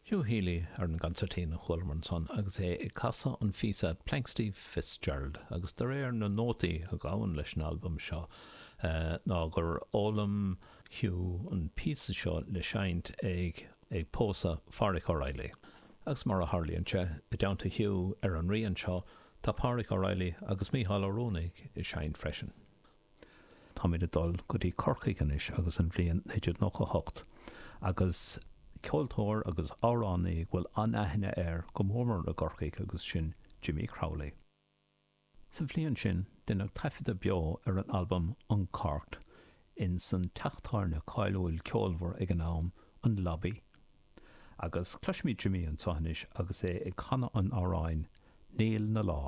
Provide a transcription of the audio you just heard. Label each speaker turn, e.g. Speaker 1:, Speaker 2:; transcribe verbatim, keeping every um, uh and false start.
Speaker 1: Hugh Healy ar an gconsairtín a chualamar ansan agus é ag casadh an phíosa Planxty Fitzgerald agus de réir na nótaí a ghabhann leis an albam seo ná gur fhoghlaim Hugh an píosa seo le seinnt ag ag pósadh Phádraic O'Reilly. Agus mar a tharlaíonn sé, i dteannta Hugh ar an rian seo tá Pádraic O'Reilly agus Mícheál Ó Ruanaidh ag seinnt freisin. Táimid ag dul go dtí Corcaigh anois agus an bhliain naoi déag nócha hocht agus ceoltóir agus amhránaí go bhfuil an-aithne air go mór mór i gCorcaigh agus sin Jimmy Crowley. Sa bhliain sin, deineadh taifeadadh beo ar an albam Uncorked in san teach tábhairne cáiliúil ceolmhar ag an am, an Lobby. Agus cloisfimid Jimmy anseo anois agus é ag canadh an amhráin Níl na Lá.